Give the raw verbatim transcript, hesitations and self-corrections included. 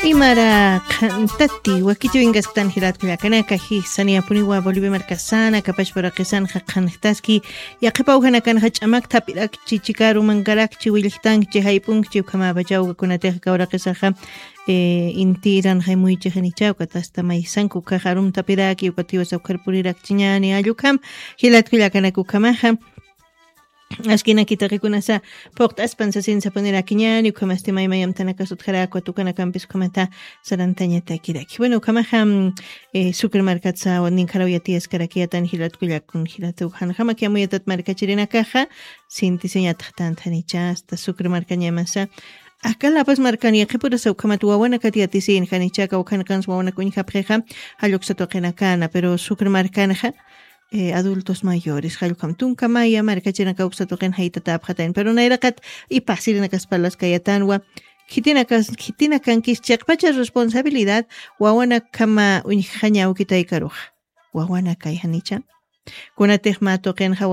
Imara qhantati wakichiwinkasktan jilatkullakanaka, jisani apuniwa Bolivia markasana kapachparaqisanxa qhanjtaski. Yaqhipaw janakanxa ch'amak thapirakchi, chikaru mankarakchi, willjtankchi, jayp'unkchi, ukhamapachaw ukakunatixa kawraqisaxa intiran jaymuychixanichaw katasta maysanku kax arum thapiraki ukatiwasa ukhar purirakchiñani allukham. Jilatkullakanaka ukhamaxa askinakitaqikunasa phuqt'aspan sasinsapunirakiñani ukhamasti maymayamtanakasutjarakwa tukanakampis ukhamata sarantañatakiraki. Bueno, ukhamaxa sucre markatsa ninkharaw yatiyaskarakiyatan jilatkullakun jilatuw janjamakiamuyatat markachirinakaxa sintisiñataxtantanichasta sucre markañamasa. Akalapas markan yaqhipurasa ukhamat wawanakat yatisin janichaka ukhanqans wawanak uñjapxixa jalluksat waqinakana pero sucre markanxa adultos mayores jallukam tunka maya markachirinaka uksat waqin jaytatäpxatayn pero nayraqat ipasirinakaspalaskayatanwa. Khitinakankis chiqpacha responsabilidad wawanakama uñjañawkitaykaruxa wawanakay janicha. Kunatix mä tuqinxa